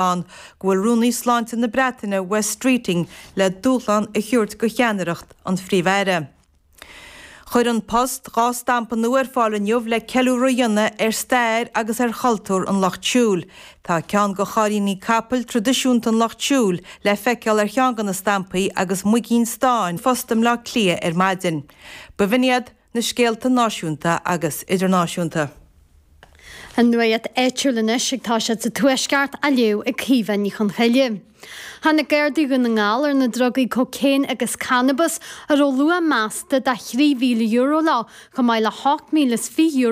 Ann go bhfuil Rúnaí Sláinte na Breataine Wes Streeting le dúshlán a thabhairt do cheannaireacht an Phríomh-Aire. Chuir An Post 2 stampa nua ar fáil inniu le ceiliúradh a dhéanamh ar stair agus ar chultúr an Lucht Siúil. Tá ceann de chairíní capaill traidisiúnta an Lucht Siúil le feiceáil ar cheann de na stampaí agus muigín stáin Phost i mBleá Cliath ar maidin. B'in iad na scéalta náisiúnta agus idirnáisiúnta. An nuacht áitiúil anois ag toiseacht sa Tuaisceart á léamh ag Caoimhe Ní Chonchoille. Tháinig Gardaí Dhún na nGall ar na drugaí cócaon agus cannabas a raibh luach measta de €3,000 leo, chomh maith le €8,020.